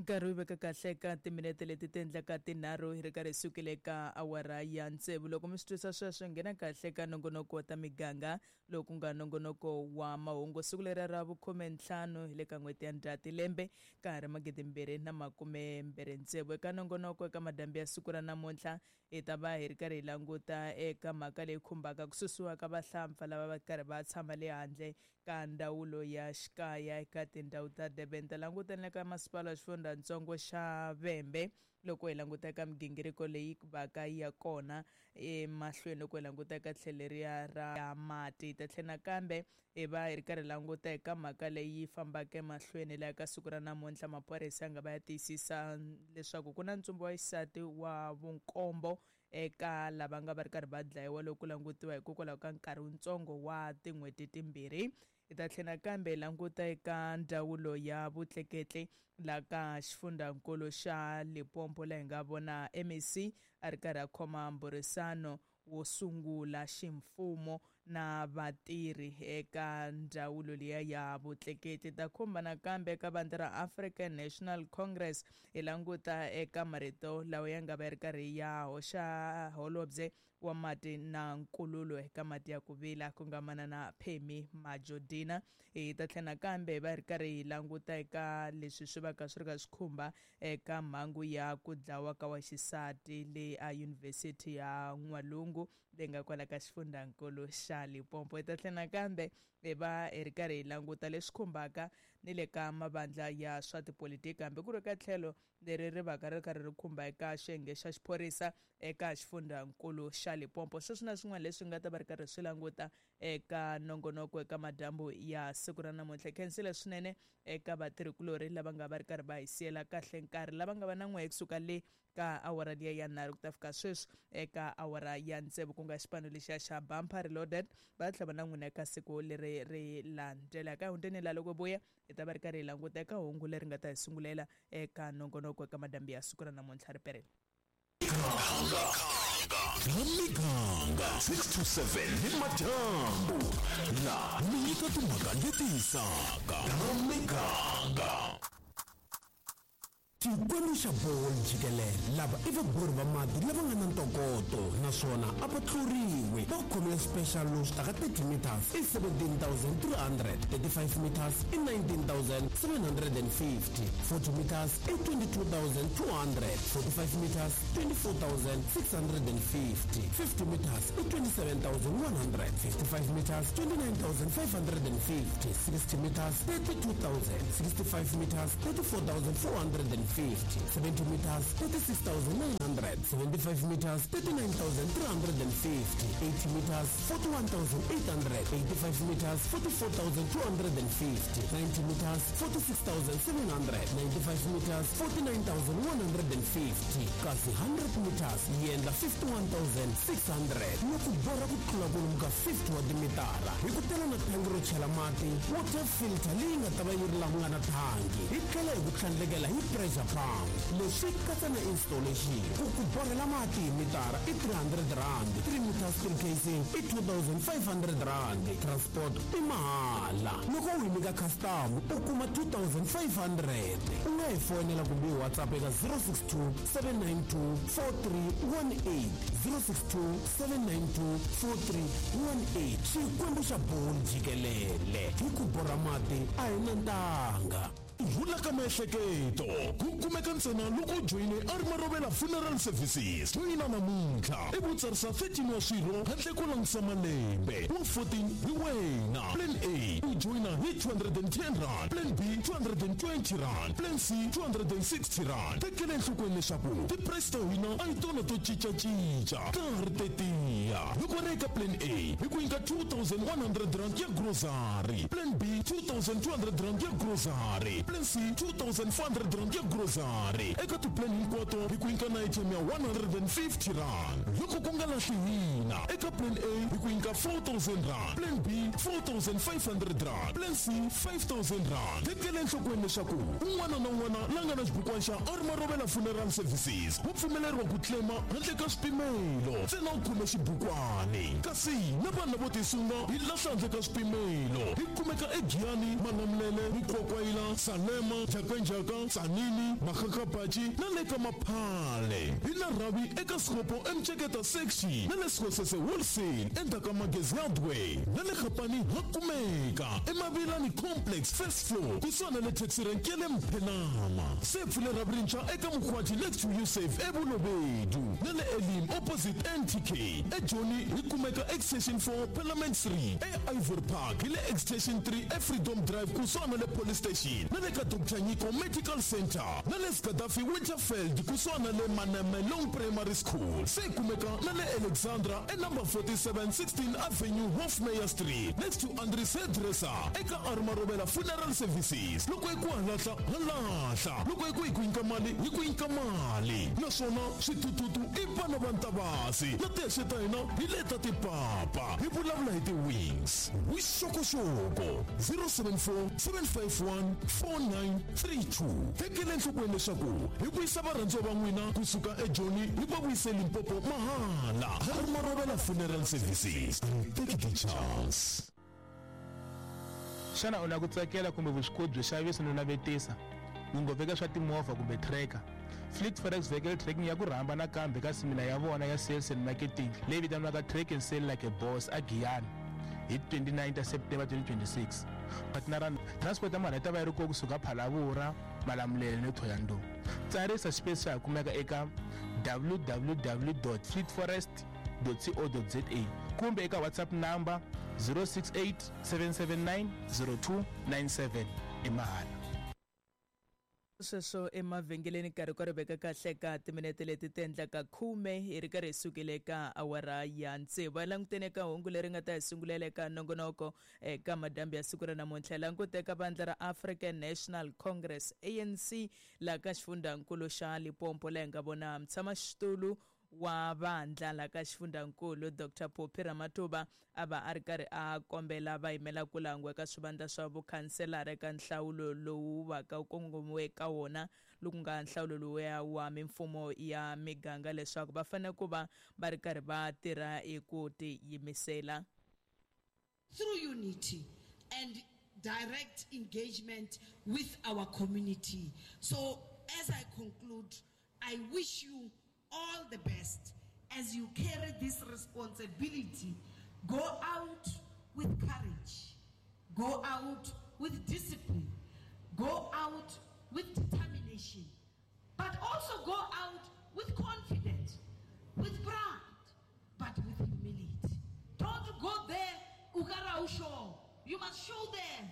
Nkarhi wu veka kahle eka timinete leti ti endlaka tinharhu hi ri karhi hi sukile eka awara ya tsevu. Loko mi swi twisa sweswo, nghena kahle eka nongonoko wa ta miganga lowu ku nga nongonoko wa mahungu. Siku leri ra vukhumentlhanu hi le ka n'hweti ya Ndzhati lembe ka ha ri magidimbirhi na makumembirhi tsevu. Eka nongonoko eka madyambu ya siku ra namuntlha hi ta va hi ri karhi hi languta eka mhaka leyi khumbaka ku susiwa ka vahlampfa lava va karhi va tshama le handle ka ndzawulo ya xikaya eka tindhawu ta Durban. Ta languta ni le ka masipala wa xifundzatsongo xa Vhembe loko hi languta eka migingiriko leyi va ka ya kona emahlweni loko hi languta eka tlhelo leriya ra mati. Hi ta tlhela nakambe hi va hi ri karhi languta eka mhaka leyi fambaka emahlweni laha ka siku ra namuntlha maphorisa ya nga va ya tiyisisa leswaku ku na ntsumbu wa xisati wa vunkombo eka lava nga va ri karhi va dlayiwa loko ku langutiwa hikokwalaho ka nkarhi wutsongo wa tin'hweti timbirhi. Hi ta tlhela nakambe hi languta eka ndzawulo ya vutleketli la ka xifundzankulu xa Limpopo laha hi nga vona MEC a ri karhi a khoma mbhurisano wo sungula ximfumo na vatirhi eka ndzawulo liya ya vutleketli. Ta khumba nakambe eka vandla ra African National Congress hi languta eka marito lawa ya nga va ya ri karhi ya hoxa holobye wa mati na nkululo eka mati ya ku vila ku nga manana Pemmy Majodina. Hi ta tlhela nakambe hi va hi ri karhi hi languta eka leswi swi va ka swi ri ka swi khumba eka mhangu ya ku dlawa ka wa xisati le a Yunivhesiti ya N'walungu leyi nga kwala ka xifundzankulu xa Limpopo. Hi ta tlhela nakambe hi va hi ri karhi hi languta leswi khumbaka ni le ka mavandla ya swa tipolitiki hambi ku ri ka tlhelo leri ri vaka ri karhi ri khumba eka xiyenge xa xiphorisa eka xifundzankulu xa Limpopo. Sweswi na swin'wana leswi nga ta va ri karhi swi languta eka nongonoko eka madyambu ya siku ra namuntlha. Khensile swinene eka vatirhikulorhi lava nga va ri karhi va hi siyela kahle nkarhi lava nga va na n'wehe kusuka le ka awara liya ya nharhu ku ta fika sweswi eka awara ya tsevu ku nga xipano lexiya xa Bumper Reloaded va tlhela va na n'wina eka siku leri ri landzelaka. Hundzeni la loko vuya hi ta va ri karhi hi languta eka hungu leri nga ta hi sungulela eka nongonoko eka madyambu ya siku ra namuntlha ri perile. La miganga 6 to 7 ni madyambu la mi nyika timhaka leti hisaka ta miganga. Xikwembu xa bolo jikelele lava i vabori va mati lava nga na ntokoto naswona a va tluriwi. Va khomile special lowu swi taka 30 meters i 17,300, 35 meters i 19,750, 40 meters i 22,200, 45 meters 24,650, 50 meters i 27,100, 55 meters 29,550, 60 meters 32,000, 65 meters 34,450, 70 meters 36,900, 75 meters 39,350, 80 meters 41,800, 85 meters 44,250, 90 meters 46,700, 95 meters 49,150, kasi 100 meters yi endla 51,600. Loko borha ku tlula kwalomu ka 50 wa timitara hi ku tela na thangi ro chela mati, water filter leyi nga ta va yi ri laha ku nga na thangi, hi tlhela hi ku tlhandlekela hi pressure pump. Leswi katsa na installation. Ku ku borhela mati hi mitara i 300 rand, 3 meters steel casing i 2,500 rand, transport i mahala. Loko u hi nyika custom u kuma 2,500. U nga hi foyinela kumbe hi WhatsApp eka 062 792 4318, 062 792 4318. Xikwembu xa bolo jikelele hi ku borha mati a hi na ntanga. Rhula ka miehleketo ku kumeka ntsena loko u joyine Armarovela Funeral Services. Joyina namuntlha i ku tsarisa 13 wa swirho handle ko langutisa malembe wa 14 hi wena. Plan A u joyina hi 210 rand, Plan B 220 rand, Plan C 260 rand. Tekela enhlokweni leswaku ti-price ta hina a hi tona to cincacinca, ta ha ri tetiya. Loko ri eka Plan A hi ku nyika 2100 rand ya grocery, Plan B 2200 rand ya grocery, Plan C 2400 rand ya grocery. Eka ti-plan hinkwato hi ku nyika na ATM ya 150 rand. Loko ku nga lahli hina eka Plan A hi ku nyika 4000 rand, Plan B 4500 rand, Plan C 5000 rand. Tekela enhlokweni leswaku un'wana na un'wana la nga na xibukwana xa Armarovela Funeral Services wa pfumeleriwa ku claima handle ka swipimelo ntsena u khome xibukwani. Kasi na vanhu lavo tisunga hi lahla handle ka swipimelo. Hi kumeka eGiyani, Malamulele, Mukwakwayila, Salema. Mpopoma, Jhakanjhaka, Tzaneen, Makgakgapatši na le ka Maphale. Hi na rhavi eka Sekgopo eMceketa Section na le Sekgosese Wholesale endzhaku ka Magezi Hardware na le Gapani ha kumeka eMavilani Complex first floor kusuhani na le taxi rank ya le Mphenama. Se pfule rhavi rintshwa eka Mkhwati next to Usave eBolobedu na le Elim opposite NTK. EJoni hi kumeka Extension 4 Parliament Street, eIvory Park hi le Extension 3 eFreedom Drive kusuhani na le Police Station na le ka Dr Nyiko Medical Center na le Gaddafi Winterfeld kusuhani na le Manamelong Primary School. Se kumeka na le Alexandra e number 47 16 Avenue Hofmeyr Street next to Andries Hairdresser eka Armarovela Funeral Services. Loko hi ku halahla halahla, loko hi ku hi ku nyika mali hi ku nyika mali, naswona switututu i vana va Ntavasi na tihexe ta hina hi leta tipapa. Hi vulavula hi ti-wings vuxokoxoko 074 751 4932. Tekela enhlokweni leswaku hi vuyisa varhandziwa va n'wina kusuka eJoni hi va vuyise Limpopo mahala. Armarovela Funeral Services, take the chance. Xana u na ku tsakela kumbe vuswikoti byo xavisa no navetisa ngopfu eka swa timovha kumbe tracker? Fleet Forex Vehicle Tracking ya ku rhamba nakambe ka semina ya vona ya sales and marketing leyi vitaniwaka Track and Sell Like a Boss aGiyani hi 29 ta September 2026. Partnera transport ya mali yi ta va yi ri kona kusuka Phalaborwa, Malamulele ni Thohoyandou. Tsarisa xipesi xa ha kumeka eka www.fleetforest.co.za kumbe eka WhatsApp number 068 779 0297 i mahala. Sweswo emavhengeleni nkarhi ka ri veka kahle ka timinete leti ti endlaka khume hi ri karhi hi sukile ka awara ya tsevu. Va langutene ka hungu leri nga ta hi sungulela eka nongonoko eka madyambu ya siku ra namuntlha. Hi langute eka vandla ra African National Congress ANC laha ka xifundzankulu xa Limpopo, laha hi nga vona mutshamaxitulu wa vandla la ka xifundzankulu Dr Phophi Ramatuba a va a ri karhi a kombela va yimela ku langiwa eka swivandla swa vukhanselara eka nhlawulo lowu va ka wu kongomiwe ka wona, loku nga nhlawulo lowuya wa mimfumo ya miganga, leswaku va fanele ku va va ri karhi va tirha hi ku tiyimisela. Through unity and direct engagement with our community. So as I conclude, I wish you all the best as you carry this responsibility. Go out with courage. Go out with discipline. Go out with determination. But also go out with confidence, with pride, but with humility. Don't go there, ukara usho. You must show them